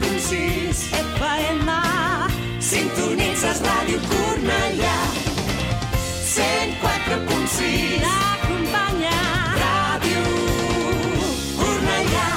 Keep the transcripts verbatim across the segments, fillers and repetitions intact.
punt sis F M. Sintonitzes Ràdio Cornellà cent quatre punt sis. T'acompanya Ràdio Cornellà.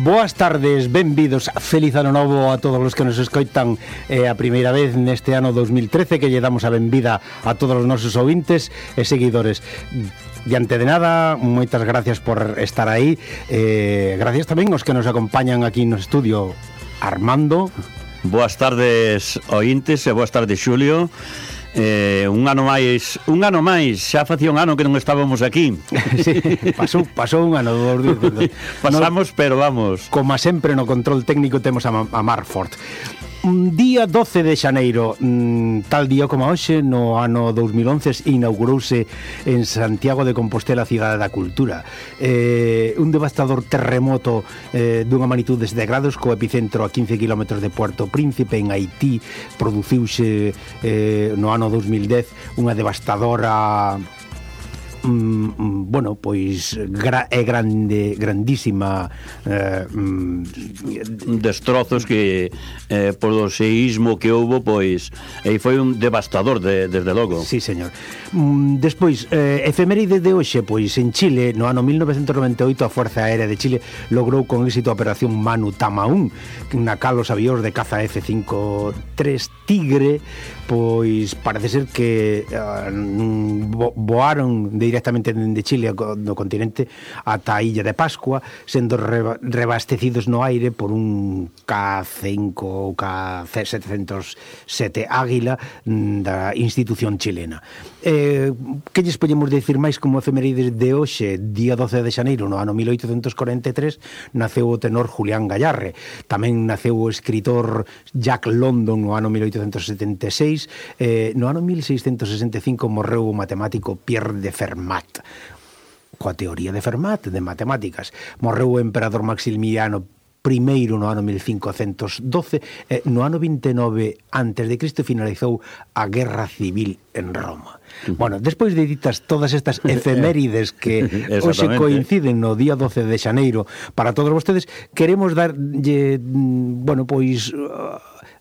Boas tardes, benvidos, feliz ano novo a todos os que nos escoitan eh, a primeira vez neste ano dos mil trece, que lle damos a benvida a todos os nosos ouvintes e seguidores. Diante de nada, moitas gracias por estar aí, eh, gracias tamén aos que nos acompañan aquí no estudio. Armando. Boas tardes, ointes, e boas tardes, Xulio. Eh, un ano máis, un ano máis, xa facía un ano que non estábamos aquí. Sí, pasou, pasou un ano dos días. Pasamos, no, pero vamos. Como sempre no control técnico temos a, a Marford. Un día doce de xaneiro, tal día como hoxe, no ano dos mil once, inaugurouse en Santiago de Compostela a Cidade da Cultura. Eh, un devastador terremoto eh, dunha magnitude de grados co epicentro a quince kilómetros de Puerto Príncipe, en Haití, produciuse eh, no ano dos mil dez unha devastadora... Mm, bueno, pois gra, é grande, grandísima eh, mm, destrozos que eh, por o seísmo que houbo, pois e foi un devastador de, desde logo. Sí, señor. Mm, despois, eh, efeméride de hoxe, pois en Chile, no ano mil novecentos noventa e oito, a Fuerza Aérea de Chile logrou con éxito a Operación Manu Tamaún, na cal os avións de caza F cincuenta y tres Tigre, pois parece ser que uh, vo, voaron de directamente de Chile no continente ata a Illa de Pascua, sendo reba, rebastecidos no aire por un K cinco ou K setecientos sete Águila da institución chilena. Eh, que lles podemos decir máis como efemérides de hoxe? Día doce de xaneiro, no ano mil oitocentos corenta e tres, naceu o tenor Julián Gallarre. Tamén naceu o escritor Jack London no ano mil oitocentos setenta e seis. Eh, no ano mil seiscentos sesenta e cinco morreu o matemático Pierre de Fermat, coa teoría de Fermat de matemáticas. Morreu o emperador Maximiliano primeiro no ano mil cincocentos doce, e no ano vinte e nove antes de Cristo finalizou a Guerra Civil en Roma. Bueno, despois de ditas todas estas efemérides que hoxe coinciden no día doce de xaneiro para todos vostedes, queremos darlle, bueno, pois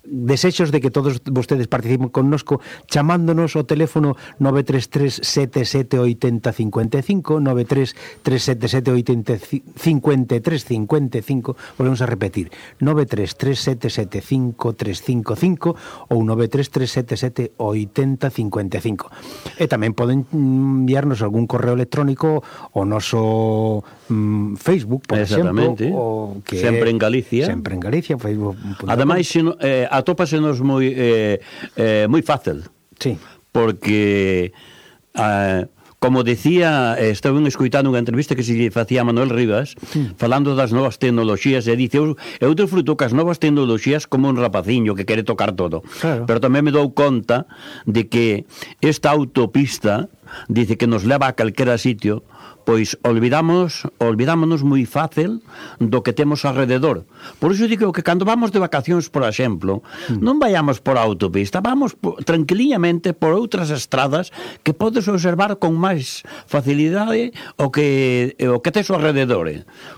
desexos de que todos vostedes participen connosco chamándonos ao teléfono nove tres tres sete sete oito cero cinco cinco, nove tres tres sete sete oito cinco tres cinco cinco, volvemos a repetir, nove tres tres sete sete cinco tres cinco cinco ou nove tres tres sete sete oito cero cinco cinco. E tamén poden enviarnos algún correo electrónico ao noso mm, Facebook, por exemplo, o que sempre en Galicia, sempre en Galicia, Facebook. Ademais, eh, atópasenos moi eh, eh, moi fácil. Sí. Porque eh, como decía, estaba escoitando unha entrevista que se lle facía a Manuel Rivas, mm. falando das novas tecnoloxías, e dice, eu, eu disfruto que as novas tecnoloxías como un rapaciño que quere tocar todo. Claro. Pero tamén me dou conta de que esta autopista dice que nos leva a calquera sitio, pois olvidamos, olvidámonos moi fácil do que temos alrededor. Por iso digo que cando vamos de vacacións, por exemplo, mm. non vayamos por a autopista, vamos por, tranquilamente por outras estradas que podes observar con máis facilidade o que o que tes ao alrededor.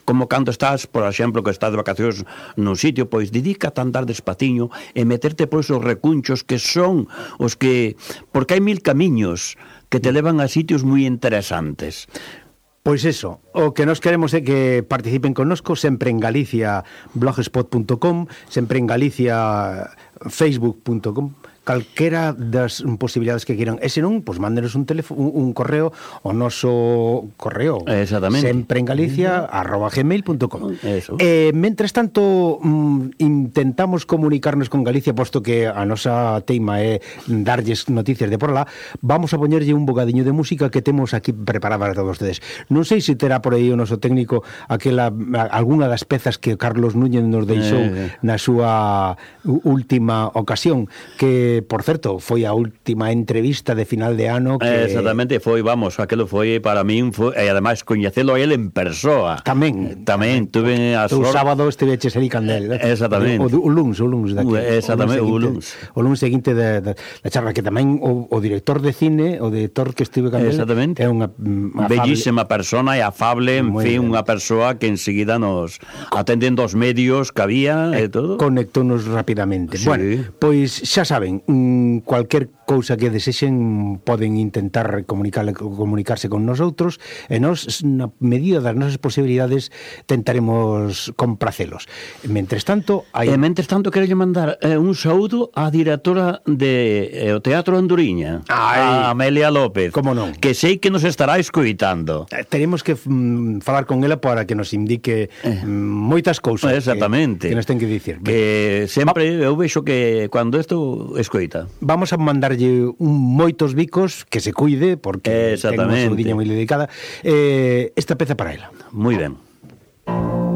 Como cando estás, por exemplo, que estás de vacacións nun sitio, pois dedícate a andar despaciño e meterte por esos recunchos que son os que... porque hai mil camiños que te levan a sitios moi interesantes. Pois eso, o que nos queremos é que participen connosco sempre en Galicia blogspot punto com, sempre en Galicia facebook punto com, calquera das posibilidades que queiran. E se non, pois mándenos un teléfono, un, un correo ao noso correo. Exactamente. Sempre en Galicia arroba gmail punto com. Eso. E mentres tanto mm, intentamos comunicarnos con Galicia, posto que a nosa teima é darlles noticias de por lá, vamos a poñerlle un bocadiño de música que temos aquí preparada para todos vostedes. Non sei se terá por aí o noso técnico aquela algunha das pezas que Carlos Núñez nos deixou eh, na súa última ocasión, que por certo, foi a última entrevista de final de ano que... Exactamente, foi, vamos, aquilo foi para min, foi, e ademais coñecelo a él en persoa. Tamén. Tamén, tuve a sorte. O sábado esteveches ali candel. Exactamente. O, o luns, o luns daqui. Exactamente, o luns. O luns seguinte da charla, que tamén o, o director de cine, o director que estive candel, exactamente. É unha afable... bellísima persona e afable, en fin, unha persoa que enseguida nos atendendo os medios que había e, e todo. Conectónos rapidamente. Sí. Bueno, pois xa saben, cualquier cousa que desexen poden intentar comunicar, comunicarse con nosotros e nos, na medida das nosas posibilidades, tentaremos compracelos. Mentres tanto, hai... E mentres tanto, quero mandar eh, un saúdo á directora de eh, o Teatro Anduriña, a Amelia López, como non, que sei que nos estará escoitando. Eh, teremos que mm, falar con ela para que nos indique mm, moitas cousas. Exactamente. Que, que nos ten que dicir. Que sempre eu vexo que cando isto escoita. Vamos a mandarlle un moitos bicos, que se cuide, porque ten unha saudiña moi dedicada. Eh, esta peza para ela. Moi ben. Thank you.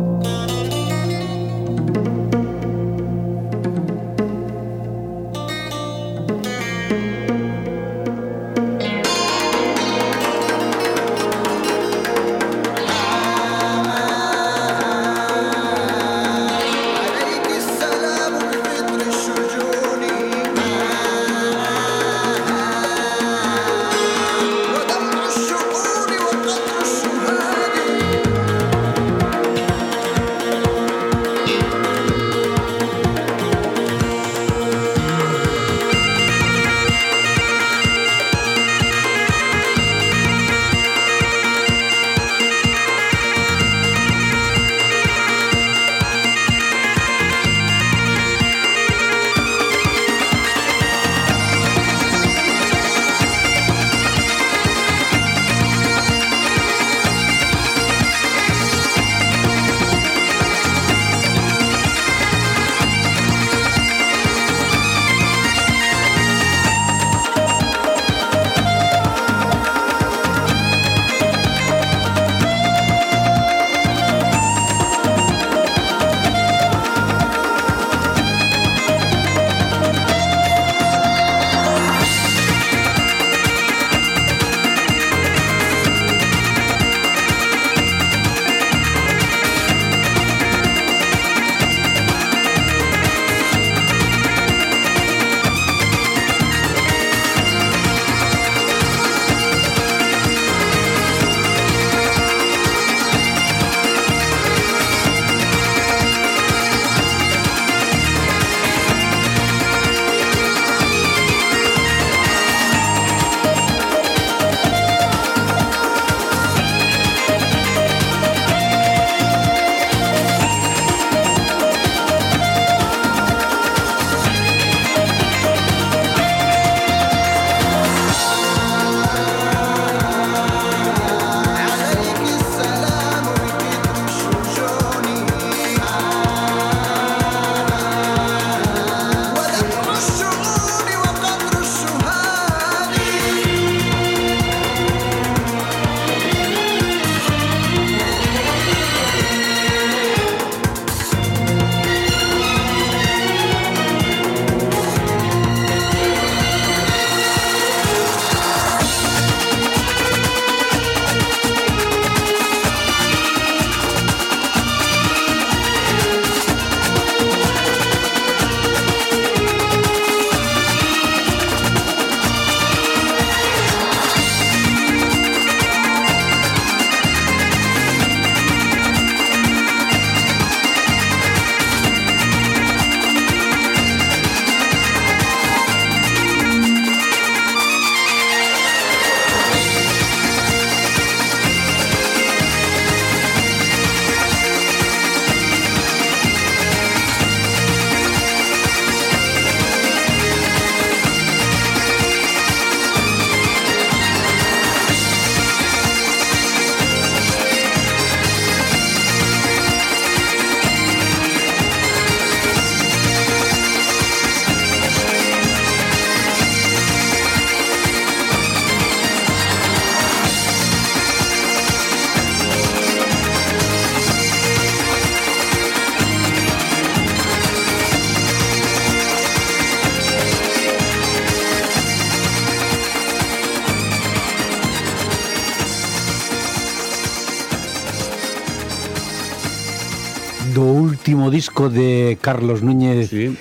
do último disco de Carlos Núñez. Sí.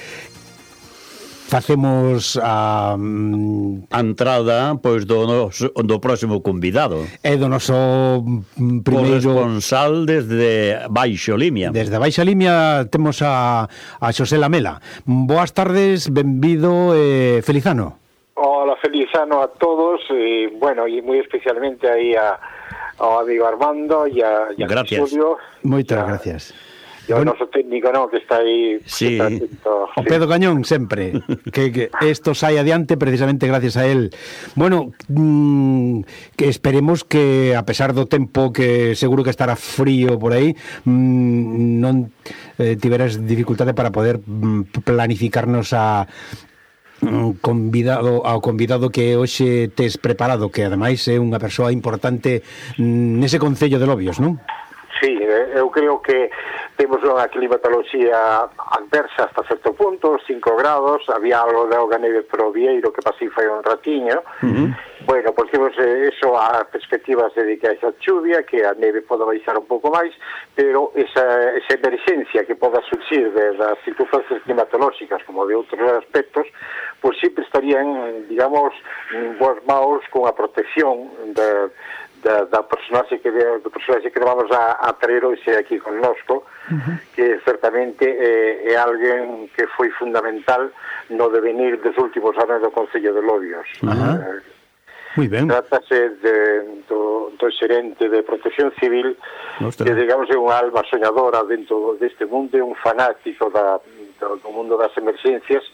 Facemos a um, a entrada pois do noso, do próximo convidado. é do noso mm, primeiro corresponsal desde Baixo Limia. Desde Baixa Limia temos a, a Xosé Lamela. Boas tardes, benvido, eh, feliz ano. Hola, feliz ano a todos, y bueno, y muy especialmente aí a, ao amigo Armando e a, e a Julio. Moitas gracias. E o bueno, noso técnico, no, que está aí... Sí. Está atento, o Pedro sí. Cañón, sempre. que, que esto sai adiante precisamente gracias a él. Bueno, mmm, que esperemos que, a pesar do tempo que seguro que estará frío por aí, mmm, non eh, tiveras dificultade para poder mm, planificarnos a... convidado ao convidado que hoxe tes preparado, que ademais é unha persoa importante nese concello de Lobios, non? Sí, eu creo que temos unha climatoloxía adversa hasta certo punto, cinco grados, había algo de auga neve pro Vieiro que pasei fai un ratiño. Uh-huh. Bueno, pois temos eso a perspectivas de que esa chuvia, que a neve poda baixar un pouco máis, pero esa, esa emerxencia que poda surxir de, das circunstancias climatolóxicas como de outros aspectos, pois sempre estarían, digamos, boas maus con a protección de da, da personaxe que do personaxe que vamos a, a traer hoxe aquí connosco, uh-huh. que certamente é, é alguén que foi fundamental no devenir dos últimos anos do Concello de Lobios. Uh-huh. eh, Muy ben. Trátase de, do, do xerente de Protección Civil, Nostra. Que digamos é unha alma soñadora dentro deste mundo, é un fanático da, do, do mundo das emerxencias,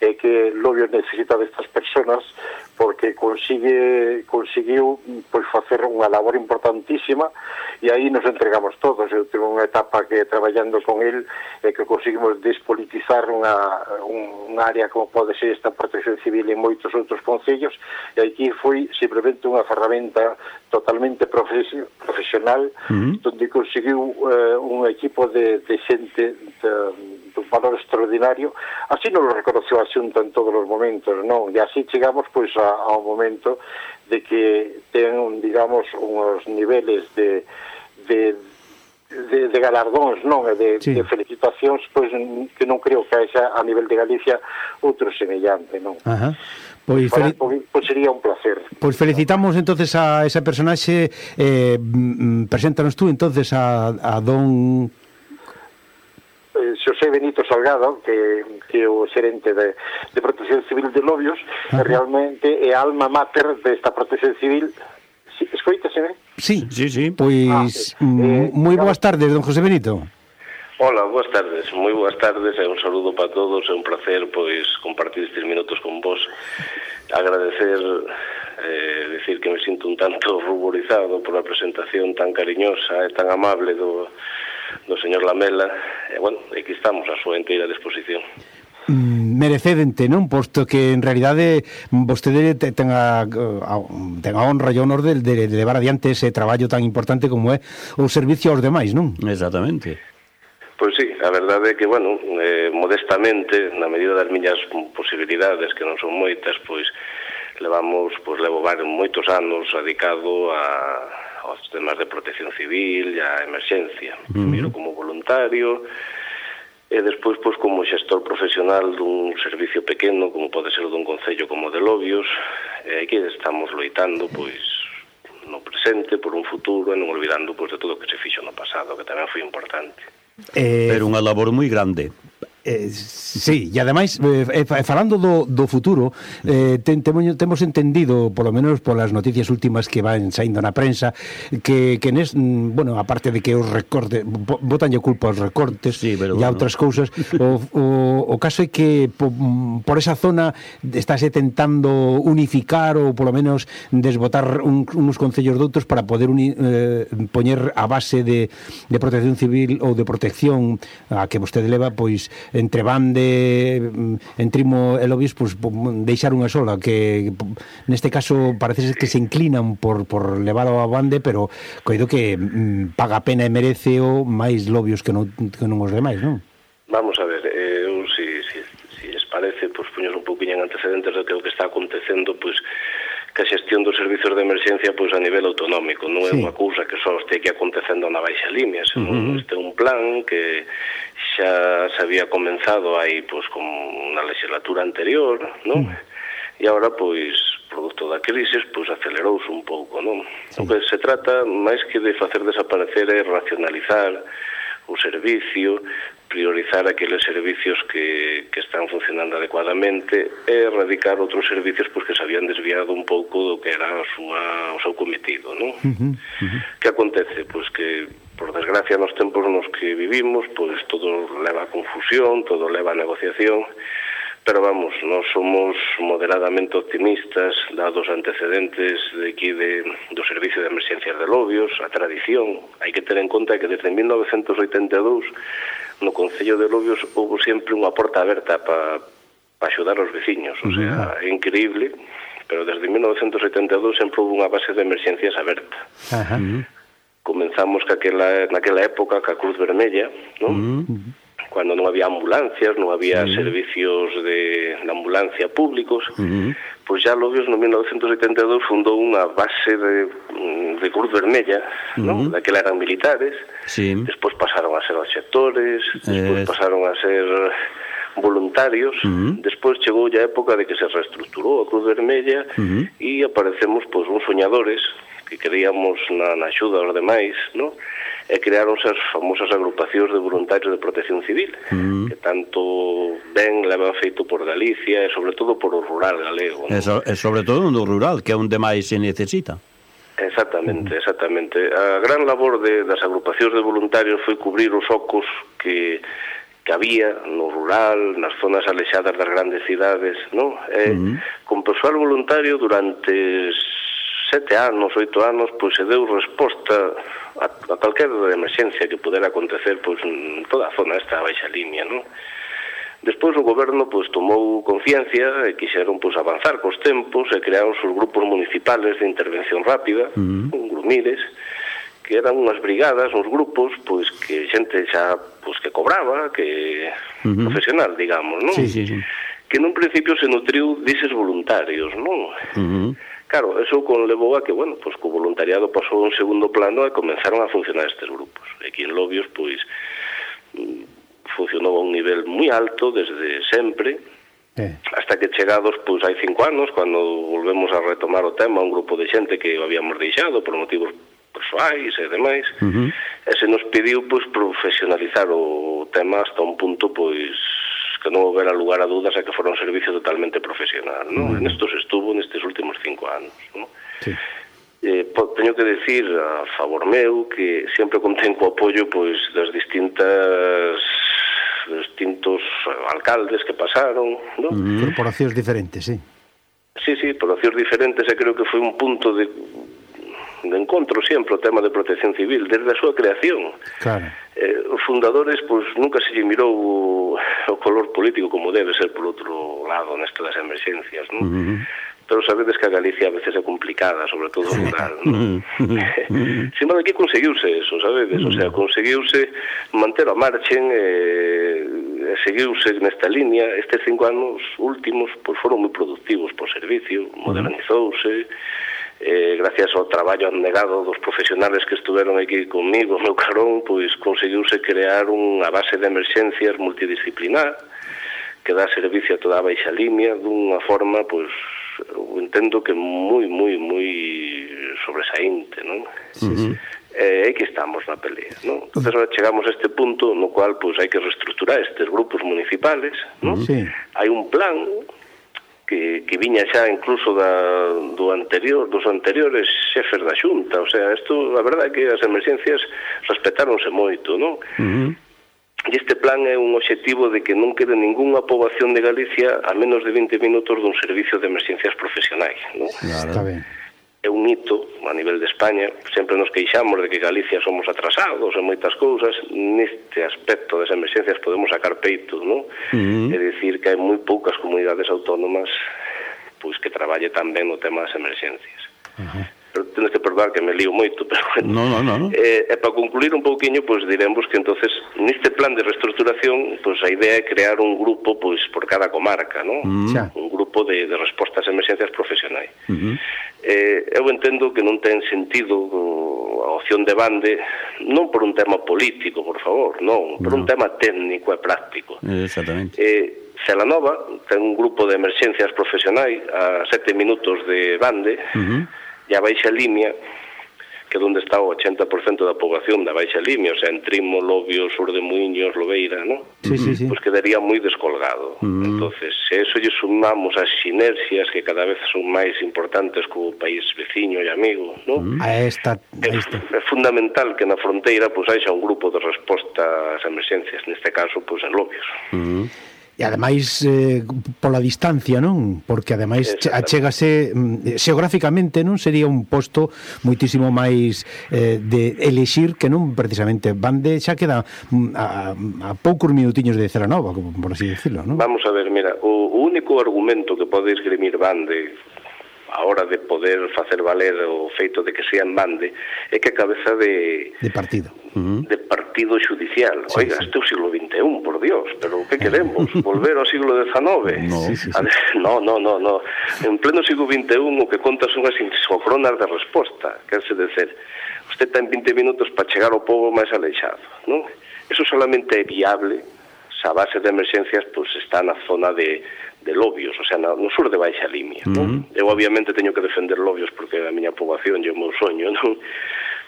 e que Lobios necesita destas personas porque consigue conseguiu pois facer unha labor importantísima, e aí nos entregamos todos. Eu tenho unha etapa que traballando con el e que conseguimos despolitizar unha, un, unha área como pode ser esta Protección Civil en moitos outros concellos, e aquí foi simplemente unha ferramenta totalmente profes- profesional, uh-huh. donde conseguiu eh, un equipo de, de xente de, de un valor extraordinario. Así nos lo reconoció a Xunta en todos os momentos, non? E así chegamos pois a, a un momento de que ten, digamos, uns niveles de de, de, de galardóns, non? E de, sí. de felicitacións, pois que non creo que haxa a nivel de Galicia outro semellante, non? Ajá. Pois, fel... pois sería un placer. Pois felicitamos entonces a ese personaxe. eh, preséntanos tú entonces a, a don Xosé Benito Salgado, que, que é o xerente de, de Protección Civil de Lobios, que realmente é a alma mater desta Protección Civil. Sí, escoítaseme? Sí, sí, sí. Pois, ah, eh, moi boas tardes, don José Benito. Hola, boas tardes, moi boas tardes, e un saludo para todos, é un placer pois compartir estes minutos con vos. Agradecer, eh, decir que me sinto un tanto ruborizado por a presentación tan cariñosa e tan amable do, do señor Lamela, e bueno, aquí estamos a súa inteira disposición. Mm, merecedente, non? Posto que en realidade vostede ten a, a, ten a honra e o honor de, de, de levar adiante ese traballo tan importante como é o servicio aos demais, non? Exactamente. Pois sí, a verdade é que, bueno, eh, modestamente, na medida das miñas posibilidades, que non son moitas, pois levamos, pois levo varios, moitos anos dedicado a, aos temas de protección civil e a emerxencia. Uh-huh. Primeiro como voluntario, e despois, pois, como xestor profesional dun servicio pequeno, como pode ser dun concello como de Lobios, e aquí estamos loitando, pois, no presente, por un futuro, e non olvidando, pois, de todo o que se fixo no pasado, que tamén foi importante. Eh, Pero unha labor moi grande. Eh, sí, e ademais eh, falando do, do futuro, eh, ten, temo, temos entendido, polo menos polas noticias últimas que van saindo na prensa, que, que nes, bueno, aparte de que os recortes botanlle culpa aos recortes sí, e a outras cousas, o, o, o caso é que po, por esa zona estáse tentando unificar ou polo menos desbotar un, uns concellos de outros para poder uni, eh, poñer a base de, de protección civil ou de protección a que vostede leva, pois entre Bande, Entrimo e Lobios, pues, deixar unha sola, que neste caso parece que se inclinan por, por leválo a Bande, pero coido que mm, paga a pena e merece o máis Lobios que non, que non os demais, non? Vamos a ver, eu, si, si, si les parece, pues, poñer un poquinho en antecedentes do que o que está acontecendo, pues, que a xestión dos servizos de emerxencia pois a nivel autonómico, non é Sí. unha cousa que só este que acontecendo na baixa línea, senón Uh-huh. este é un plan que xa se había comenzado aí pois con na legislatura anterior, non? Uh-huh. E agora pois produto da crisis pois acelerouse un pouco, non? Sí. O que se trata máis que de facer desaparecer é racionalizar o servicio, priorizar aqueles servicios que, que están funcionando adecuadamente e erradicar outros servicios pois, que se habían desviado un pouco do que era a súa, o seu cometido, non? Uh-huh, uh-huh. Que acontece? Pois que, por desgracia, nos tempos nos que vivimos, pois todo leva a confusión, todo leva a negociación, pero vamos, nós somos moderadamente optimistas dados antecedentes de aquí de, do Servicio de Emerxencias de Lobios, a tradición. Hai que ter en conta que desde mil novecentos oitenta e dous no Concello de Lobios houve sempre unha porta aberta para pa axudar os veciños, o sea, é increíble, pero desde mil novecentos oitenta e dous sempre houve unha base de emerxencias aberta. Ajá. Comenzamos caquela, naquela época ca Cruz Vermella, non? Uh-huh. Cuando non había ambulancias, non había sí. servicios de, de ambulancia públicos, uh-huh. pois xa Lobios no mil novecentos oitenta e dous fundou unha base de, de Cruz Vermella, uh-huh. non? Daquela eran militares, sí. despois pasaron a ser obxectores, despois eh... pasaron a ser voluntarios, uh-huh. despois chegou a época de que se reestructurou a Cruz Vermella uh-huh. e aparecemos pois uns soñadores que creíamos na, na axuda aos demais, non? E crearonse as famosas agrupacións de voluntarios de protección civil, mm. que tanto ben levan feito por Galicia e sobre todo por o rural galego. E, so, e sobre todo no rural, que é onde máis se necesita. Exactamente, exactamente. A gran labor de, das agrupacións de voluntarios foi cubrir os ocos que, que había no rural, nas zonas alexadas das grandes cidades, non? E mm. con persoal voluntario durante sete anos, oito anos, pois se deu resposta a, a calquera emerxencia que pudera acontecer pois en toda a zona esta baixa línea, non? Despois o goberno pois tomou conciencia e quixeron pois avanzar cos tempos e crearon os grupos municipales de intervención rápida, uh-huh. un grumires, que eran unhas brigadas, uns grupos pois que xente xa pois que cobraba, que uh-huh. profesional, digamos, non? Sí, sí, sí. Que nun principio se nutriu dises voluntarios, non? Uh-huh. Claro, eso conlevou a que, bueno, pues, que o voluntariado pasou a un segundo plano e comenzaron a funcionar estes grupos. Aquí en Lobios, pois, funcionou a un nivel moi alto desde sempre, eh. hasta que chegados, pois, hai cinco anos, cando volvemos a retomar o tema, un grupo de xente que o habíamos deixado por motivos persoais e demais, uh-huh. e se nos pediu, pois, profesionalizar o tema hasta un punto, pois, que non houbera lugar a dudas a que fora un servicio totalmente profesional, non? Mm. Nestos estuvo nestes últimos cinco anos, non? Sí. Eh, po, teño que decir a favor meu que sempre contén co apoio pois das distintas distintos alcaldes que pasaron, non? Mm. Corporacións diferentes, sí. Sí, sí, corporacións diferentes, e creo que foi un punto de de encontro sempre o tema de protección civil desde a súa creación. Claro. Eh, os fundadores pois nunca se lle mirou o, o color político como debe ser por outro lado neste das emerxencias, non? Uh-huh. Pero sabedes que a Galicia a veces é complicada, sobre todo rural, non? Uh-huh. Sin embargo, aquí conseguiuse eso, sabedes? Uh-huh. O sea, conseguiuse manter a marchen e, e seguiuse nesta línea. Estes cinco anos últimos pois foron moi productivos por servicio, modernizouse, Eh, gracias ao traballo abnegado dos profesionales que estuveron aquí comigo, meu carón, pois conseguiuse crear unha base de emerxencias multidisciplinar que dá servicio a toda a baixa línea dunha forma, pois, entendo que moi, moi, moi sobresaínte, non? Sí, sí. E aí que estamos na pelea, non? Entón, chegamos a este punto no cual, pois, hai que reestructurar estes grupos municipales, non? Sí. Hai un plan que, que viña xa incluso da, do anterior, dos anteriores xefes da Xunta, o sea, isto, a verdade é que as emerxencias respetáronse moito, non? Uh-huh. E este plan é un obxectivo de que non quede ningunha poboación de Galicia a menos de vinte minutos dun servicio de emerxencias profesionais, non? Claro. Está ben. É un hito a nivel de España, sempre nos queixamos de que Galicia somos atrasados en moitas cousas, neste aspecto das emerxencias podemos sacar peito, non? Uh-huh. É dicir que hai moi poucas comunidades autónomas pois que traballe tan ben no tema das emerxencias. Uh-huh. pero tienes que perdoar que me lío moito, pero bueno. No, no, no. Eh, e para concluir un pouquiño, pois diremos que entonces neste plan de reestructuración, pois a idea é crear un grupo pois por cada comarca, ¿no? Mm. Un grupo de, de respostas a emerxencias profesionais. Uh-huh. Eh, eu entendo que non ten sentido a opción de bande, non por un tema político, por favor, non, por no. un tema técnico e práctico. Exactamente. Eh, Celanova ten un grupo de emerxencias profesionais a sete minutos de bande, uh-huh. e a Baixa Limia, que é onde está o ochenta por cento da poboación da Baixa Limia, o sea, en Trimo, Lobio, Sur de Muiños, Lobeira, ¿no? Sí, sí, sí. Pues quedaría moi descolgado. Uh-huh. Entonces, se eso lle sumamos as sinerxias que cada vez son máis importantes co país veciño e amigo, ¿no? Uh-huh. A esta, a esta. É, é fundamental que na fronteira pues, haxa un grupo de resposta ás emerxencias, neste caso, pues, en Lobios. Uh-huh. E ademais eh, pola distancia, non? Porque ademais achégase xeográficamente, non? Sería un posto moitísimo máis eh, de elixir que non precisamente Bande xa queda a, a poucos minutiños de Celanova, por así decirlo, non? Vamos a ver, mira, o, o único argumento que pode esgrimir Bande a hora de poder facer valer o feito de que sea en Bande é que a cabeza de... De partido. Uh-huh. De partido judicial. Sí, Oiga, sí. Este é o siglo vinte e un, por Dios, pero que queremos? Volver ao siglo dezenove? No, sí, sí, sí. no, no, no, no. En pleno siglo vinte e un o que conta son as isócronas de resposta, quer se dizer, usted ten vinte minutos para chegar ao pobo máis aleixado, non? Eso solamente é viable se a base de emerxencias pues, está na zona de de Lobios, o sea, no sur de Baixa Limia, uh-huh. non? Eu obviamente teño que defender Lobios porque a miña poboación é o meu soño, non?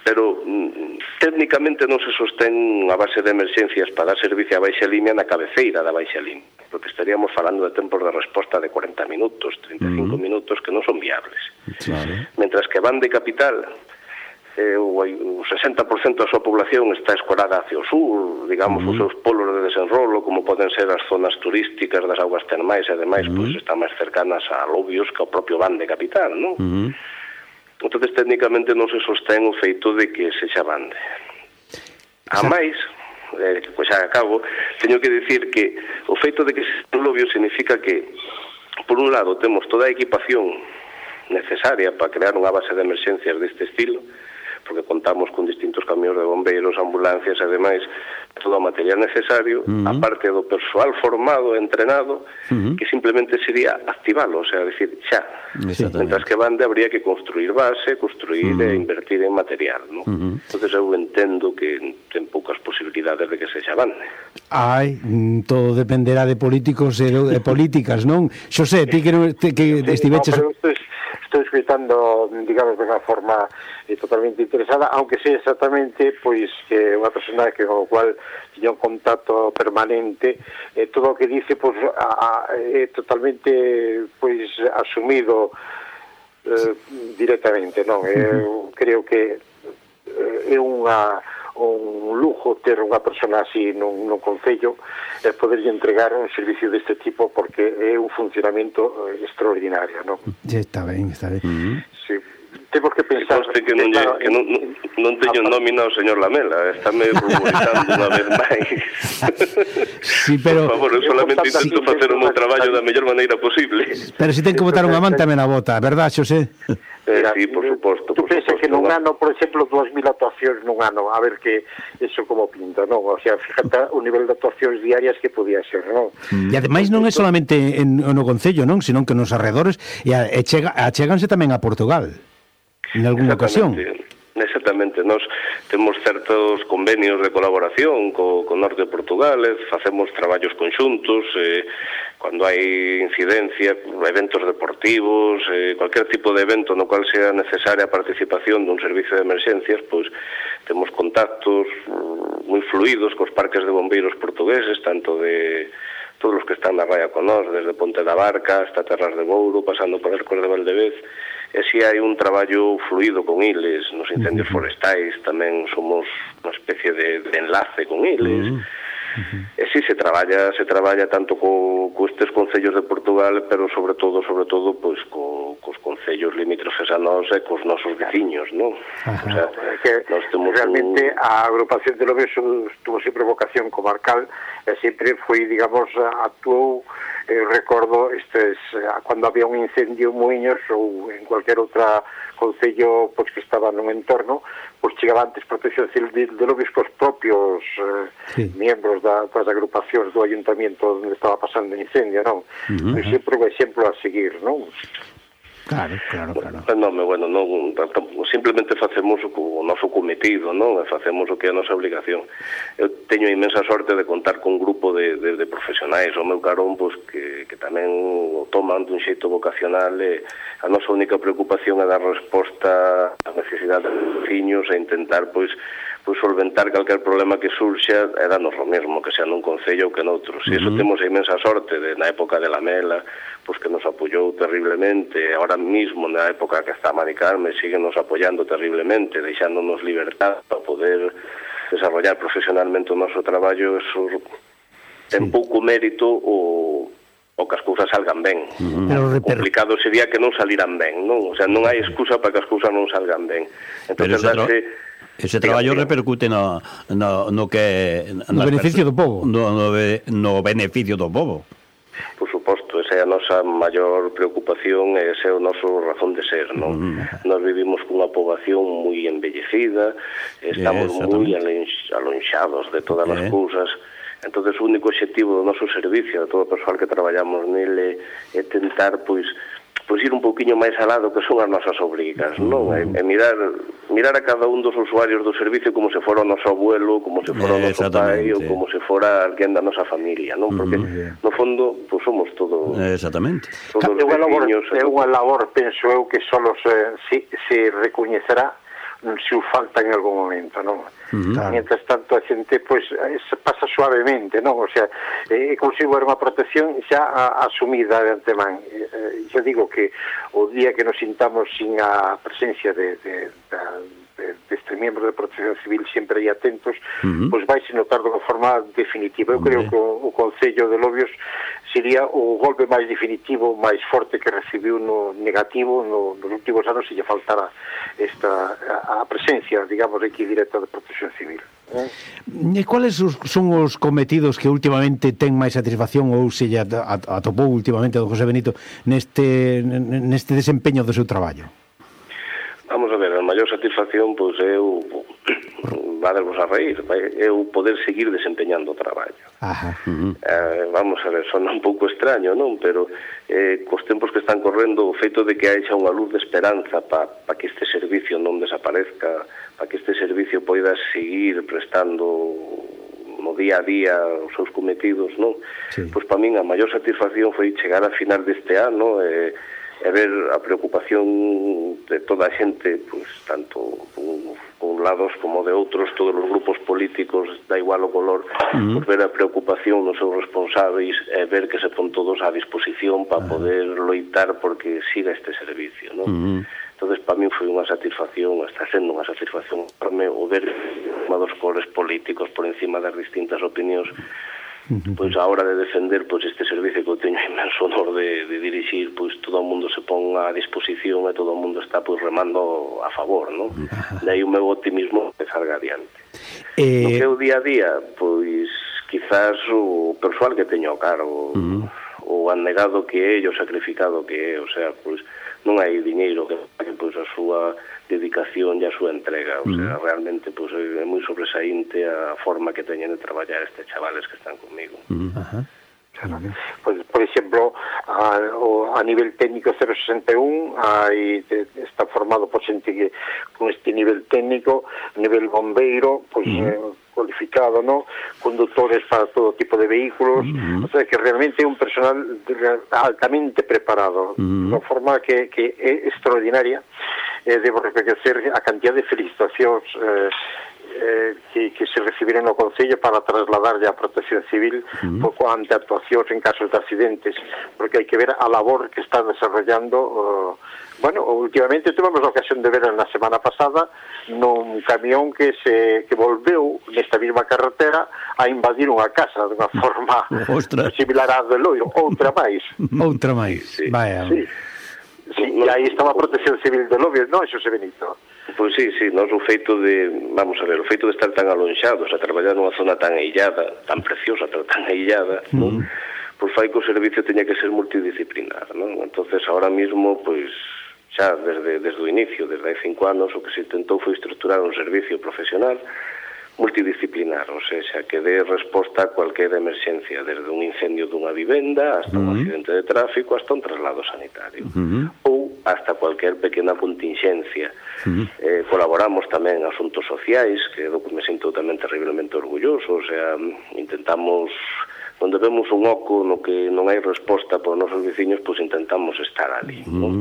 Pero mm, técnicamente non se sostén a base de emerxencias para dar servicio a Baixa Limia na cabeceira da Baixa Limia, porque estaríamos falando de tempos de resposta de cuarenta minutos, treinta e cinco uh-huh. minutos que non son viables. Claro. Mentras que van de capital, eh, o, o sesenta por cento da súa población está escorada hacia o sur, digamos, uh-huh. os seus polos de desenrolo, como poden ser as zonas turísticas das aguas termais, e ademais, uh-huh. pues, están máis cercanas a Lobios que ao propio Van de capital, non? Uh-huh. Entonces, técnicamente non se sostén o feito de que sexa Bande. A máis, eh, pois xa acabo, teño que dicir que o feito de que sexa Lobios significa que, por un lado, temos toda a equipación necesaria para crear unha base de emerxencias deste estilo, porque contamos con distintos camións de bombeiros, ambulancias e demais, todo o material necesario, uh-huh. aparte do persoal formado e entrenado, uh-huh. que simplemente sería activalo, o sea, decir, xa. Mentras que Bande habría que construir base, construir uh-huh. e invertir en material, ¿no? Uh-huh. Entonces eu entendo que ten poucas posibilidades de que sexa Bande. Ai, todo dependerá de políticos e de políticas, non? Xosé, ti que, que estiveches... No, estou escritando, digamos, de unha forma eh, totalmente interesada, aunque sea exactamente, pois, que unha persona que con o cual tiña un contacto permanente, eh, todo o que dice, pois, a, a, é totalmente, pois, asumido eh, directamente, non? Eu creo que eh, é unha un lujo ter unha persona así nun, nun concello e eh, poderlle entregar un servicio deste tipo porque é un funcionamento eh, extraordinario, non? Está ben, está ben. Uh-huh. Sí. Temos que pensar... Que, que, non, claro, que non, non, non teño nómina o señor Lamela, está me ruborizando unha vez máis. Sí, pero... Por favor, eu solamente intento facer o meu traballo da mellor maneira posible. Pero se ten que botar unha man tamén a bota, verdad, Xosé? Eh, sí, por suposto. Tú pensas que nun ano, por exemplo, dúas mil actuacións nun ano, a ver que eso como pinta, non? O sea, fíjate o nivel de actuacións diarias que podía ser, non? E ademais non é solamente en, no Concello, non? Senón que nos arredores e achéganse tamén a Portugal, en algunha ocasión. Exactamente, nós temos certos convenios de colaboración co, co norte de Portugal, facemos traballos conxuntos, eh, cando hai incidencia, eventos deportivos, eh, cualquier tipo de evento no cual sea necesaria a participación dun servicio de emerxencias, pois temos contactos moi fluidos cos parques de bombeiros portugueses, tanto de todos os que están na raya con nós, desde Ponte da Barca hasta Terras de Bouro, pasando por Arcos de Valdevez, e si hai un traballo fluido con iles, nos incendios uh-huh. forestais tamén somos unha especie de, de enlace con iles, uh-huh. Uh-huh. e si se traballa, se traballa tanto co, co estes concellos de Portugal, pero sobre todo, sobre todo, pois co, cos concellos limítrofes a nós e cos nosos veciños, non? O sea, que nós temos realmente un... a agrupación de Lobios tuvo sempre vocación comarcal e sempre foi, digamos, actuou, eh, recordo, estes, cando había un incendio en Muiños ou en cualquier outra concello pois, que estaba nun entorno, pois chegaba antes Protección Civil de Lobios cos propios eh, sí. membros da, das agrupacións do ayuntamiento onde estaba pasando o incendio, non? Uh-huh. Pois sempre un exemplo a seguir, non? Claro, claro, claro. Non, bueno, non, simplemente facemos o noso cometido, non? Facemos o que é a nosa obligación. Eu teño a inmensa sorte de contar con un grupo de, de, de profesionais ao meu carón, pois, que, que tamén o toman dun xeito vocacional e a nosa única preocupación é dar resposta ás necesidades dos veciños e intentar, pois, pois solventar calquer problema que surxa e danos o mesmo, que sea nun concello ou que noutros. E iso uh-huh. temos a inmensa sorte de, na época de Lamela, pois que nos apoyou terriblemente, ahora mismo na época que está Mari Carme siguen nos apoyando terriblemente, deixándonos libertad para poder desarrollar profesionalmente o noso traballo. Eso ten sí. pouco mérito o, o que as cousas salgan ben. Uh-huh. Pero, o complicado sería que non saliran ben, non? O sea, non hai excusa para que as cousas non salgan ben. Entón, darse... Ese traballo repercute no, no, no que... No beneficio do povo. No, no, no beneficio do povo. Por suposto, esa é a nosa maior preocupación e ese é o noso razón de ser, non? Mm. Nós vivimos cunha poboación moi envellecida, estamos yeah, moi alonxados de todas yeah. as cousas. Entonces, o único objetivo do noso servicio, de todo o persoal que traballamos nele, é tentar, pois, pois ir un pouquiño máis alado que son as nosas obrigas, non? E, e mirar mirar a cada un dos usuarios do servicio como se fora o noso abuelo, como se fora o noso pai ou como se fora alguén da nosa familia, non? Porque uh-huh. no fondo, pois somos todos exactamente. Todos é unha labor, é unha labor, penso eu, que só se, se, se recoñecerá se o falta en algún momento, non? Uh-huh. Mientras tanto a xente pois pasa suavemente, non? O sea, é eh, como se era unha protección xa a, asumida de antemán. Eh, yo digo que o día que nos sintamos sin a presencia de, de, de, de, de este miembro de protección civil sempre aí atentos, uh-huh. pois vai se notar de unha forma definitiva. Eu creo uh-huh. que o, o Concello de Lobios sería o golpe máis definitivo, máis forte que recibiu no negativo no, nos últimos anos se lle faltara esta a, a presencia, digamos, aquí directa de protección civil. Eh? E cuáles son os cometidos que últimamente ten máis satisfacción ou se lle atopou últimamente don José Benito neste, neste desempeño do seu traballo? Vamos a ver, a maior satisfacción pois é o vadevos a reír, é o poder seguir desempeñando o traballo. Ajá. Uh-huh. Eh, vamos a ver, son un pouco extraño, non? Pero eh, cos tempos que están correndo, o feito de que haxa unha luz de esperanza para pa que este servicio non desaparezca, para que este servicio poida seguir prestando no día a día os seus cometidos, non? Sí. Pois para min a maior satisfacción foi chegar a final deste ano e eh, e ver a preocupación de toda a xente, pois, tanto con, con lados como de outros, todos os grupos políticos, da igual o color, uh-huh. pois ver a preocupación dos seus responsáveis e ver que se pon todos á disposición para uh-huh. poder loitar porque siga este servicio, non? Uh-huh. Entonces, para mí foi unha satisfacción, está sendo unha satisfacción enorme o ver unha dos colores políticos por encima das distintas opinións, pois a hora de defender pois este servicio que eu teño inmenso honor de, de dirixir, pois todo o mundo se pon a disposición e todo o mundo está pois remando a favor, non? De aí o meu optimismo de salga adiante. Eh... No que é o día a día, pois quizás o persoal que teño ao cargo, uh-huh. o anegado que é e o sacrificado que é, o sea, pois non hai diñeiro que pague pois a súa dedicación e a súa entrega, o sea, uh-huh. realmente pois é moi sobresaínte a forma que teñen de traballar estes chavales que están comigo. Uh-huh. Uh-huh. Claro. Pues, por exemplo, a, a nivel técnico cero sesenta e un hai, está formado por xente que con este nivel técnico, nivel bombeiro, pois pues, uh-huh. eh, cualificado, ¿no? Conductores para todo tipo de vehículos, uh-huh. o sea que realmente é un personal altamente preparado, uh-huh. de unha forma que, que é extraordinaria. Eh, debo reconocer a cantidad de felicitacións eh, eh, que, que se recibiron no Concello para trasladarlle a Protección Civil uh-huh. pouco ante actuacións en casos de accidentes, porque hai que ver a labor que está desarrollando. Uh, bueno, últimamente tuvemos a ocasión de ver na semana pasada nun camión que se que volveu nesta mesma carretera a invadir unha casa dunha forma similar á do Loiro, outra máis. Outra máis, sí, vaya. Sí. Sí, e aí estaba a Protección Civil de Lobios, non, Xosé Benito? Pois sí, sí, nós o feito de, vamos a ver, o feito de estar tan alonxados, a traballar nunha zona tan aillada, tan preciosa, pero tan aillada, mm. non? Pois fai que o servicio teña que ser multidisciplinar, non? Entonces, ahora mismo, pois, xa desde, desde o inicio, desde hai cinco anos, o que se intentou foi estruturar un servicio profesional multidisciplinar, ou seja, que dé resposta a cualquier emerxencia, desde un incendio dunha vivenda hasta un uh -huh. accidente de tráfico hasta un traslado sanitario, uh -huh. ou hasta cualquier pequena contingencia. Uh -huh. eh, colaboramos tamén en asuntos sociais, que é do que me sinto tamén terriblemente orgulloso, o sea, intentamos, onde vemos un oco no que non hai resposta por nosos veciños, pois intentamos estar ali, uh -huh. non?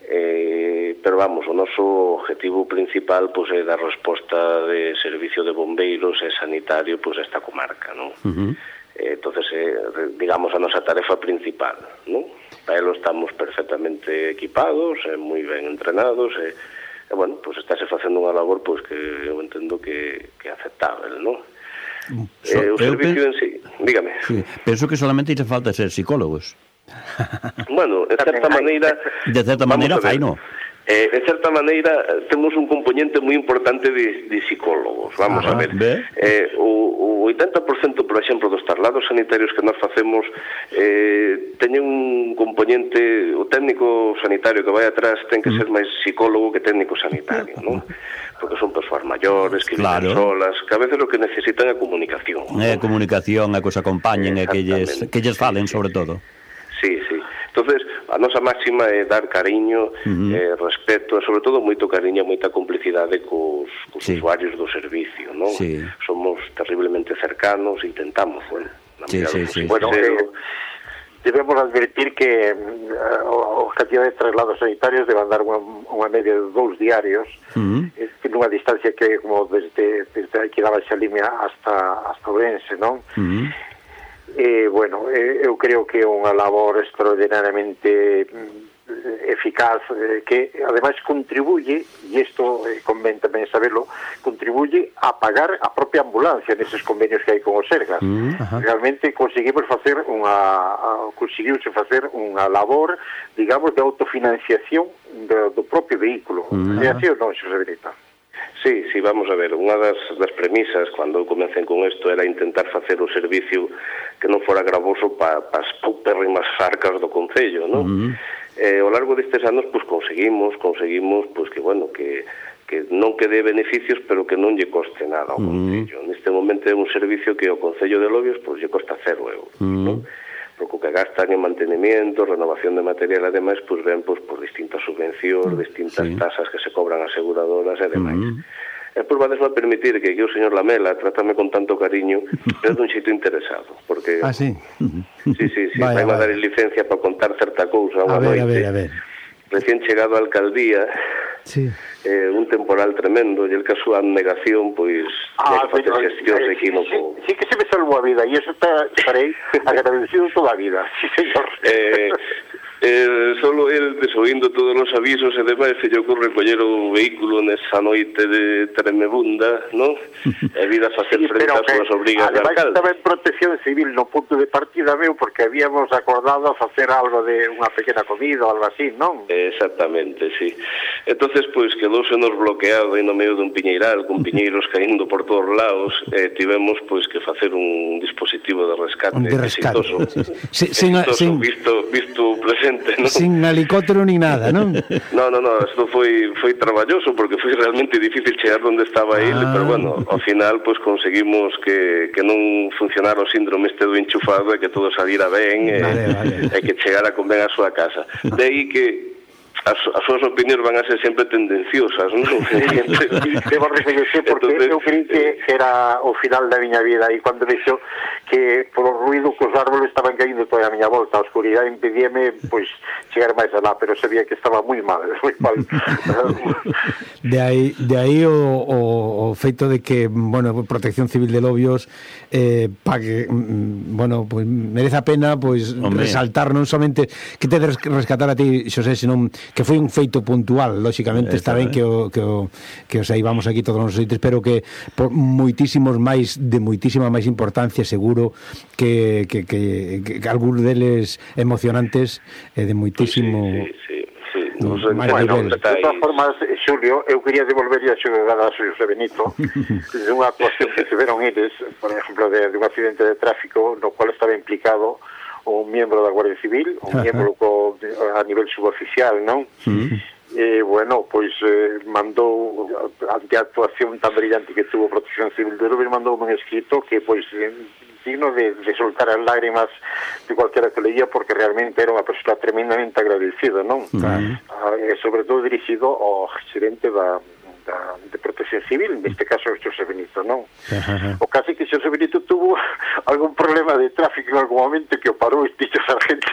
Eh, pero vamos, o noso objetivo principal pois é dar resposta de servicio de bombeiros e sanitario pois a esta comarca, non? Uh -huh. eh, entonces, eh, digamos, a nosa tarefa principal, non? Para elo estamos perfectamente equipados, e moi ben entrenados, e, e bueno, pois estáse facendo unha labor pois que eu entendo que, que é aceptável, non? So, eh, o servicio en sí, dígame. Sí, penso que solamente hace falta ser psicólogos. Bueno, de certa maneira... De certa maneira, fai, non? Eh, de certa maneira, temos un componente moi importante de, de psicólogos, vamos ah, a ver. Eh, o, o oitenta por cento, por exemplo, dos traslados sanitarios que nós facemos eh, teñen un componente, o técnico sanitario que vai atrás ten que ser máis psicólogo que técnico sanitario, non? Porque son persoas maiores, que claro. viven solas, que a veces o que necesitan é comunicación. É ¿no? comunicación, a que os acompañen, e que lles, que lles falen, sí, sobre sí. todo. Sí, sí. Entonces, a nosa máxima é dar cariño, uh -huh. eh, respeto, e sobre todo moito cariño, moita complicidade cos, cos sí. usuarios do servicio, non? Sí. Somos terriblemente cercanos, intentamos, bueno, sí, sí, sí, bueno, sí. Eh, debemos advertir que uh, o, o cantidad de traslados sanitarios debe andar unha, unha media de dous diarios, uh -huh. eh, nunha distancia que como desde, desde aquí da Baixa Limia hasta, hasta Ourense, non? Uh -huh. Eh, bueno, eh, eu creo que é unha labor extraordinariamente eficaz, eh, que ademais contribuye, e isto eh, convén tamén saberlo, contribuye a pagar a propia ambulancia neses convenios que hai con o Sergas. Mm, realmente conseguimos facer unha a, conseguiuse facer unha labor, digamos, de autofinanciación do, do propio vehículo. Mm, é así ou non, Xosé Benito? Sí, sí, vamos a ver, unha das, das premisas cando comecen con isto era intentar facer o servicio que non fora gravoso para pa as paupérrimas arcas do Concello, non? Uh -huh. eh, ao largo destes anos, pois, conseguimos, conseguimos, pois, que, bueno, que, que non que dé beneficios, pero que non lle coste nada ao uh -huh. Concello. Neste momento é un servicio que ao Concello de Lobios, pois, lle costa cero euros, uh -huh. non? Porque o que gastan en mantenimiento, renovación de material, ademais, pois ven pois, por distintas subvencións, distintas sí. tasas que se cobran aseguradoras e demais. Uh -huh. E pois vades a permitir que, que o señor Lamela trátame con tanto cariño, pero dun xeito interesado, porque... Ah, sí? Sí, sí, sí, vai a dar licencia para contar certa cousa unha noite. A ver, a ver, a ver. Recién chegado a alcaldía, sí. eh, un temporal tremendo, e el que a súa abnegación, pois, ah, que facer xestións sí, equívoco. Sí, sí que se me salvou a vida, e iso estarei agradecido toda a vida, sí, señor. Eh... Eh, solo el desoindo todos os avisos e demais se lle ocorre coller o vehículo nesa noite de tremebunda, non? E vida a facer sí, frente ás súas obrigas de alcalde. Ademais estaba en Protección Civil no punto de partida meu porque habíamos acordado facer algo de unha pequena comida ou algo así, non? Exactamente, sí. Entonces, pois, quedouse nos bloqueado aí no medio dun piñeiral con piñeiros caindo por todos lados e tivemos, pois, que facer un dispositivo de rescate de rescate. exitoso, sí, sí. exitoso sin, visto, visto presente. ¿no? Sin helicóptero ni nada, non? No, no, no, isto foi foi traballoso porque foi realmente difícil chegar onde estaba ah. ele, pero bueno, ao final pois pues, conseguimos que, que non funcionara o síndrome este do enchufado e que todo salira ben e, vale, vale. e que chegara con ben a súa casa. De aí que as, as súas opinións van a ser sempre tendenciosas, non? Debo recoñecer porque entonces, eu creí que era o final da miña vida e cando vexo que por o ruido que os árboles estaban caindo toda a miña volta, a oscuridade impedíame pois chegar máis alá, pero sabía que estaba moi mal, moi mal. De aí, de aí o, o, o feito de que, bueno, Protección Civil de Lobios eh, pague, bueno, pues merece a pena pois Hombre. resaltar non somente que te rescatar a ti, Xosé, senón que foi un feito puntual, lóxicamente está ben que o, que o, que os aí vamos aquí todos os sitios, pero que por moitísimos máis, de moitísima máis importancia, seguro que, que, que, que, que algúns deles emocionantes e de moitísimo... Sí, sí, sí, sí, non sei, Bueno, bueno, de todas formas, Xulio, eu quería devolver a xogada a Xosé Benito de unha actuación que tiveron eles, por exemplo, de, de un accidente de tráfico no cual estaba implicado un miembro da Guardia Civil, un Ajá. miembro co, a nivel suboficial, non? Mm. E, bueno, pois eh, mandou, ante a actuación tan brillante que tuvo Protección Civil de Lugo, mandou un escrito que, pois, eh, digno de, de soltar as lágrimas de cualquiera que leía, porque realmente era unha persona tremendamente agradecida, non? Claro. Ah, e sobre todo dirixido ao gerente da, da, de Protección Civil, neste caso o Xosé Benito, non? Ajá. O caso é que Xosé Benito tuvo algún problema de tráfico en algún momento que o parou este sargento.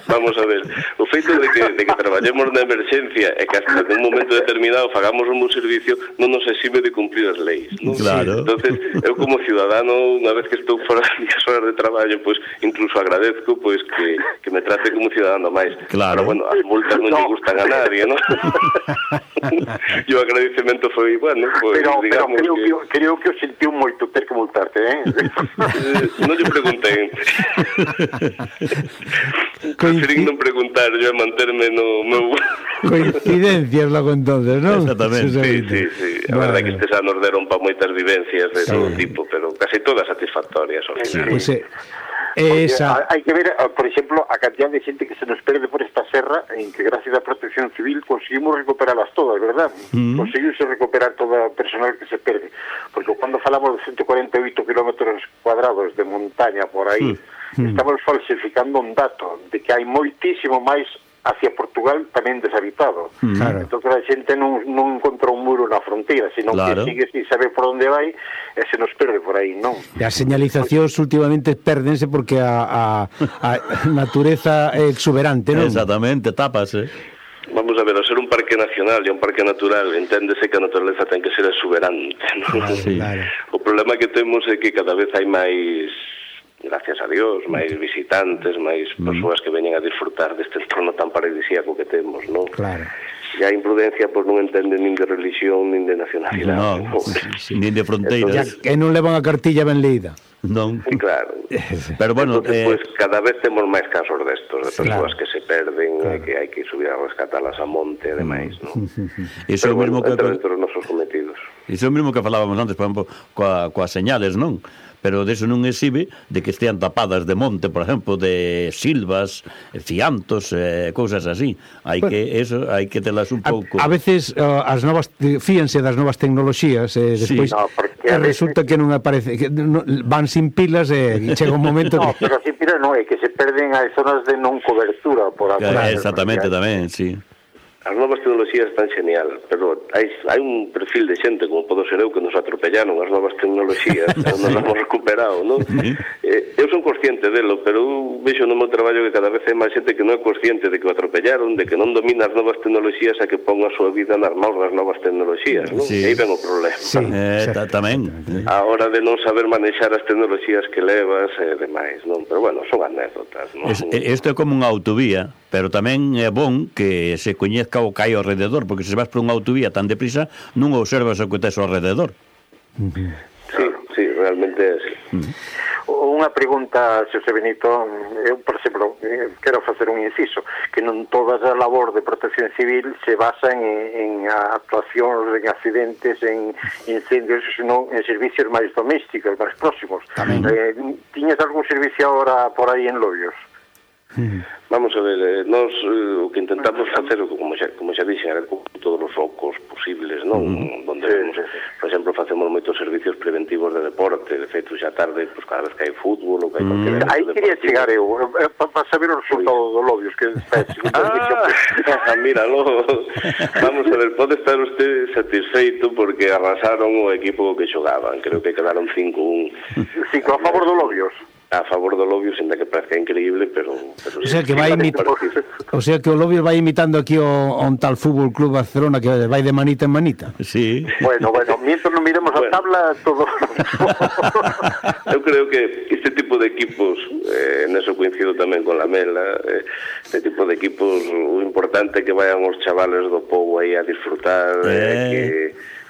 Vamos a ver, o feito de que, de que traballemos na emerxencia e que hasta en un momento determinado fagamos un bon servicio non nos exime de cumprir as leis, non? Claro. Entonces, eu como ciudadano, unha vez que estou fora das minhas horas de traballo, pois incluso agradezco pois que, que me trate como ciudadano máis. Claro. Pero bueno, as multas non lle gustan a nadie, non? E o agradecemento foi, bueno, pois Pero, pero digamos creo que... que, creo que o sentiu moito ter que multarte, eh? Eh, non lle preguntei. Preferín non preguntar, yo a manterme no meu... Coincidencias logo entonces, non? Exactamente. Sí, sí, sí. A Vale. verdade que estes anos deron para moitas vivencias de Sí. todo tipo, pero casi todas satisfactorias. Sí. Pois é. Porque Esa... hai que ver, por exemplo, a cantidad de xente que se nos perde por esta serra, en que gracias á Protección Civil conseguimos recuperarlas todas, verdad? Mm. Conseguimos recuperar todo o personal que se perde, porque cando falamos de ciento cuarenta e oito kilómetros cuadrados de montaña por aí, Mm. estamos falsificando un dato de que hai moitísimo máis hacia Portugal tamén deshabitado. Claro. Entón a xente non, non encontra un muro na fronteira, sino Claro. que sigue sin saber por onde vai e se nos perde por aí, non? E as señalizacións últimamente pérdense porque a, a, a natureza é exuberante, non? Exactamente, tapas, eh? Vamos a ver, ao ser un parque nacional e un parque natural, enténdese que a naturaleza ten que ser exuberante, non? Claro, Sí. claro. O problema que temos é que cada vez hai máis, gracias a Dios, máis visitantes, máis persoas que veñen a disfrutar deste entorno tan paradisíaco que temos, non? Claro. E a imprudencia pois non entende nin de religión nin de nacionalidade. No, non? nin de Ya fronteiras. que non levan a cartilla ben leída. Non. Sí, claro. Pero bueno, Entonces, eh, pues, cada vez temos máis casos destos, de persoas Claro. que se perden, Claro. e que hai que subir a rescatalas a monte e demais, non? iso é Pero o mesmo bueno, que... entra dentro dos nosos cometidos. Iso é o mesmo que falábamos antes, por exemplo, coa, coas señales, non? Pero deso non exhibe de que estean tapadas de monte, por exemplo, de silvas, fiantos, eh, cousas así. Hai Bueno, que eso, hai que telas un pouco. A, a veces uh, as novas fíanse das novas tecnoloxías e eh, Sí. despois No, porque e a veces- resulta que non aparece que no, van sin pilas e chega un momento No, que pero así pira non, é que se perden as zonas de non cobertura por Que, agora. exactamente tamén, sí. As novas tecnoloxías están genial, pero hai, hai un perfil de xente, como podo ser eu, que nos atropellaron as novas tecnoloxías, non nos hemos recuperado, non? Eh, eu son consciente delo, pero eu vexo no meu traballo que cada vez hai máis xente que non é consciente de que o atropellaron, de que non domina as novas tecnoloxías e que pon a súa vida nas mãos das novas tecnoloxías, non? Sí. E aí ven o problema. Sí. Eh, ta, tamén. A hora de non saber manexar as tecnoloxías que levas e demais, non? Pero bueno, son anécdotas, non? Es, isto é como unha autovía, pero tamén é bon que se coñezca o que hai ao rededor, porque se vas por unha autovía tan deprisa, non observas o que tes ao rededor. Sí, sí, realmente é así. Unha pregunta, Xosé Benito, eu, por exemplo, eh, quero facer un inciso, que non toda a labor de protección civil se basa en, en actuacións, en accidentes, en incendios, senón en servicios máis domésticos, máis próximos. Tamén. Eh, tiñas algún servicio agora por aí en Lobios? Vamos a ver, eh, nós eh, o que intentamos facer, como xa, como xa dixen, era cubrir todos os focos posibles, non? Uh-huh. Donde vemos, por exemplo, facemos moitos servicios preventivos de deporte, de feito xa tarde, pues, cada vez que hai fútbol ou que hai cualquier Uh-huh. Aí evento quería deportivo. chegar eu, eh, para saber o resultado do Lobios, que está Ah, míralo. Vamos a ver, pode estar usted satisfeito porque arrasaron o equipo que xogaban. Creo que quedaron cinco un cinco a favor do Lobios. a favor do Lobios, ainda que parece increíble, pero... pero O sea que sí, vai parece imit... parecido. O sea que o Lobios vai imitando aquí o, o un tal Fútbol Club Barcelona que vai de manita en manita. Sí. Bueno, bueno, mientras non miremos Bueno. a tabla, todo... Eu creo que este tipo de equipos, eh, neso coincido tamén con la Mela, eh, este tipo de equipos, o importante é que vayan os chavales do povo aí a disfrutar, eh. Eh. que,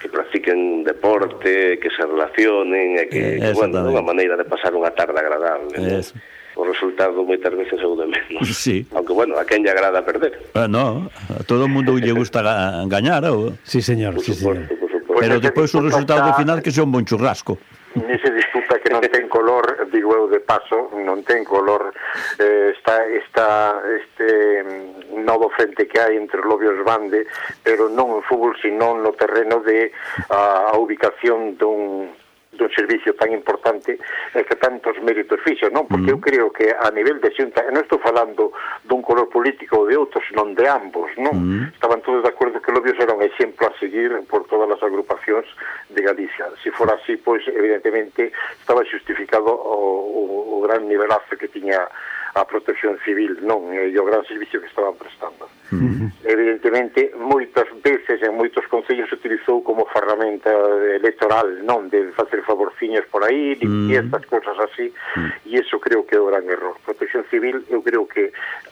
que practiquen deporte, que se relacionen, e que, Eh, que bueno, exactamente. unha maneira de pasar unha tarde agradable. ¿no? Eso. Os resultado moitas veces é o de menos. Sí. Aunque, bueno, a quen lle agrada perder. Ah, no, a todo o mundo lle gusta ga gañar, ou... Sí, señor, Por sí, señor. suposto, por suposto. Pero depois o resultado do final que sea un bon churrasco. Nese disputa que non ten color, digo eu de paso, non ten color, eh, está, está este novo frente que hai entre Lobios Bande, pero non en fútbol, sino no terreno de a, a ubicación dun dun servicio tan importante e que tantos méritos fixo, non? Porque mm. eu creo que a nivel de xunta, e non estou falando dun color político ou de outros, non de ambos, non? Mm. Estaban todos de acordo que Lobios era un exemplo a seguir por todas as agrupacións de Galicia. Se fora así, pois, evidentemente, estaba justificado o, o, o gran nivelazo que tiña a protección civil, non? E o gran servicio que estaban prestando. Uh-huh. Evidentemente, moitas veces en moitos concellos se utilizou como ferramenta electoral, non? De facer favorciños por aí, limpiezas, uh-huh. cosas así, uh-huh. e iso creo que é o gran error. Protección civil, eu creo que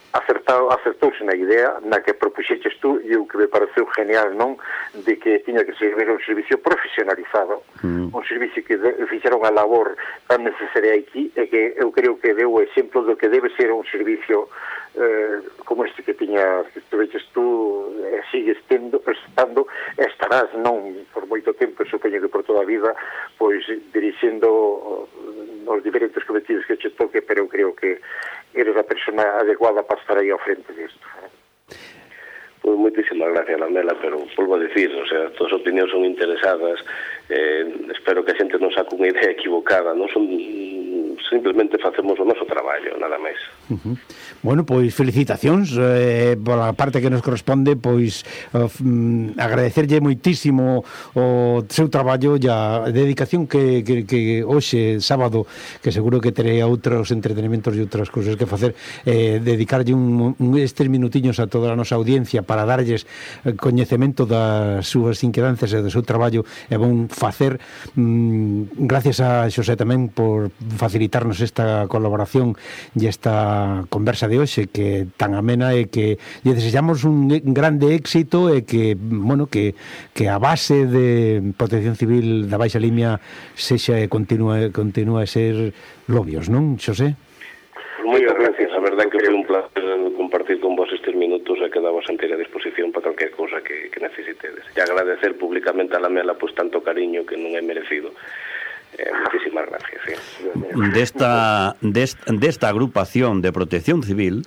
acertado, acertouse na idea na que propuxeches tú, e o que me pareceu genial, non? De que tiña que ser un servicio profesionalizado, uh-huh. un servicio que de, fixera unha labor tan necesaria aquí, e que eu creo que deu o exemplo do que debe ser un servicio eh, como este que tiña, que estuveches tú, e sigues tendo, estando, e estarás, non por moito tempo, supoño que por toda a vida, pois dirixendo os diferentes cometidos que che toque, pero eu creo que eres a persona adecuada para estar aí ao frente disto. Pois moitísimas gracias, Lamela, pero volvo a dicir, o sea, todas as opinións son interesadas, eh, espero que a xente non saque unha idea equivocada, non son, simplemente facemos o noso traballo, nada máis. Uh-huh. Bueno, pois felicitacións eh, pola parte que nos corresponde, pois uh, agradecerlle moitísimo o seu traballo e a dedicación que, que, que hoxe, sábado, que seguro que terei outros entretenimentos e outras cousas que facer, eh, dedicarlle un, un estes minutiños a toda a nosa audiencia para darlles coñecemento das súas inquedanzas e do seu traballo, e bon facer. Mm, gracias a Xosé tamén por facilitarnos esta colaboración e esta conversa de hoxe, que tan amena, e que lle desexamos un grande éxito, e que, bueno, que, que a base de Protección Civil da Baixa Limia sexa e continúe, continúe a ser Lobios, non, Xosé? Moitas gracias, a verdade que foi un placer compartir con vos estes minutos, e quedamos a inteira disposición para calquer cousa que, que necesitedes. E agradecer públicamente a Lamela pois tanto cariño que non é merecido. Eh, muchísimas gracias. Sí. Desta, desta, desta agrupación de Protección Civil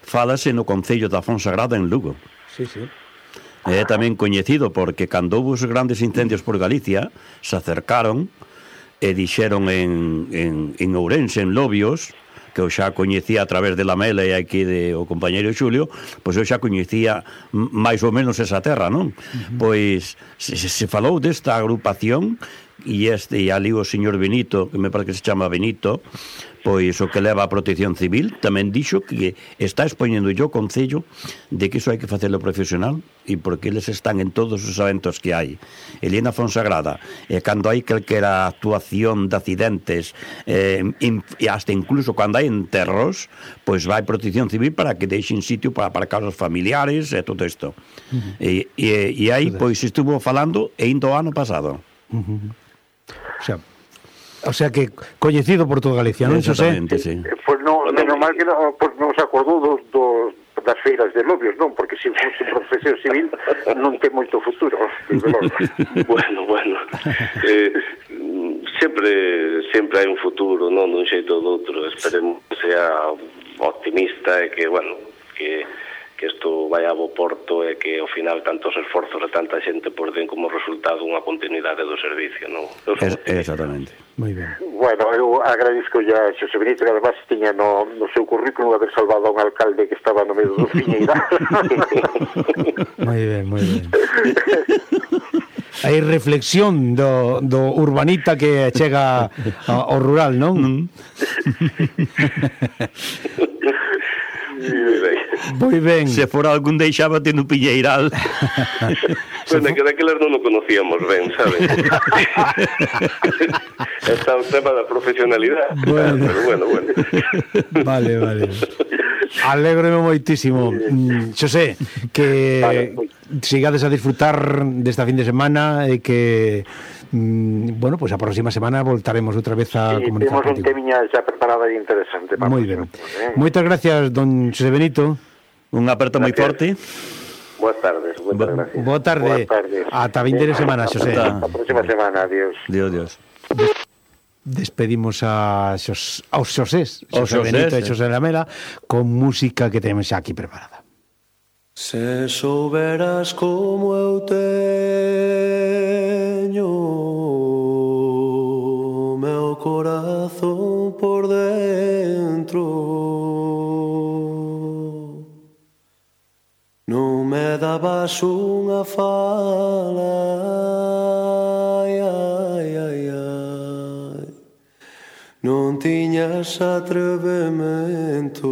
fálase no Concello da Fonsagrada en Lugo. Sí, sí. É tamén coñecido porque cando houve os grandes incendios por Galicia se acercaron e dixeron en, en, en Ourense, en Lobios, que eu xa coñecía a través de Lamela e aquí de o compañeiro Xulio, pois eu xa coñecía máis ou menos esa terra, non? Uh-huh. Pois se, se falou desta agrupación, e este, e ali o señor Benito, que me parece que se chama Benito, pois o que leva a Protección Civil, tamén dixo que está expoñendo yo o Concello de que iso hai que facelo profesional, e porque eles están en todos os eventos que hai. Elena Fonsagrada, e cando hai calquera actuación de accidentes, eh, e hasta incluso cando hai enterros, pois vai Protección Civil para que deixen sitio para aparcar os familiares e todo isto. Uh-huh. E, e, e aí, pois, estuvo falando e indo o ano pasado. Uh-huh. O sea, o sea que coñecido por toda Galicia, non, Xosé? Sí. Pois non, é normal que non, pois non se acordou dos, dos, das feiras de Lobios, non? Porque se fosse Protección Civil non ten moito futuro. Bueno, bueno. Eh, sempre sempre hai un futuro, non dun xeito ou do outro. Esperemos que sea optimista e que, bueno, que que isto vai a bo porto e que ao final tantos esforzos e tanta xente por den como resultado unha continuidade do servicio, non? Es, exactamente. Moi ben. Bueno, eu agradezco ya a Xosé Benito, que además tiña no, no seu currículum haber salvado a un alcalde que estaba no medio do Fiñeira. Moi ben, moi ben. Hai reflexión do, do urbanita que chega ao rural, non? Moi ben. Se fora algún deixábate no Piñeiral. Bueno, que daquelas non o conocíamos ben, sabes? Está o tema da profesionalidade. Bueno. Pero bueno, bueno. Vale, vale. eso. Alégrome moitísimo. Mm, Xosé, que Vale, pues. sigades a disfrutar desta fin de semana e que mm, bueno, pois pues a próxima semana voltaremos outra vez a Sí, comunicar temos un contigo. temiña xa preparada e interesante. para Moi a ben. próxima, eh? Moitas gracias, don Xosé Benito. Un aperto moi forte. Boas tardes, moitas gracias. Boa tarde. Boas tardes. Ata vindeira semana, Xosé. Ata. A próxima semana, adiós. Dios, Dios. Despedimos a xos, aos Xosés, Aos Xosé Xosés, Benito e eh. Xosé Lamela, con música que temos xa aquí preparada. Se souberas como eu teño o meu corazón por dentro, non me dabas unha fala, ai, ai, ai, ai. Non tiñas atrevemento,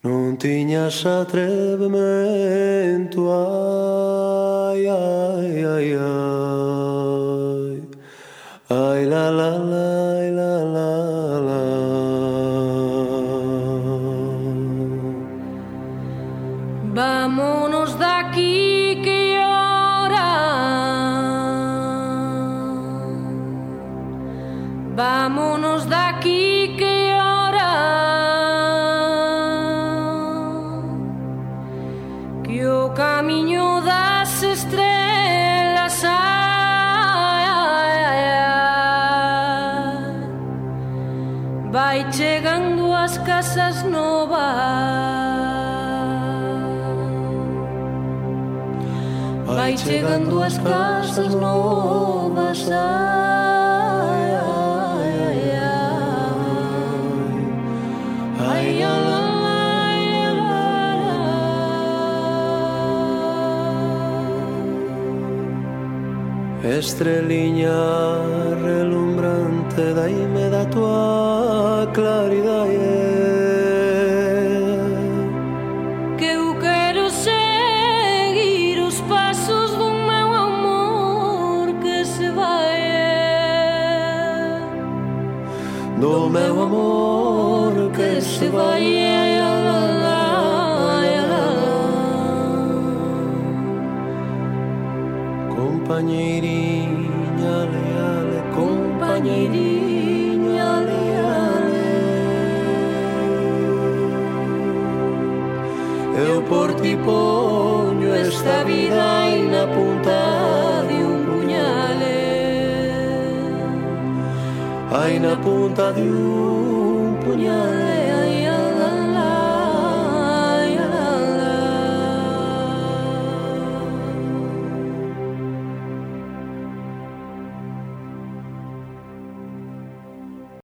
non tiñas atrevemento, ai, ai, ai, ai, ai, la, la, la, la, la, la. Vámonos de aquí que llora. Vámonos de aquí que llora. Que o camiño das estrelas ai, ai, ai, vai chegando ás casas novas. Vai chegando às casas novas, ai, ai, ai, ai, ai, ai, ai. Estreliña relumbrante, daime da tua claridade, do meu amor que se vai, ai, ai, ai, ai, ai. Compañeirinha leale, compañeirinha leale, eu por ti poño esta vida aí na punta de un puñale, ai na punta de un puñale, ai,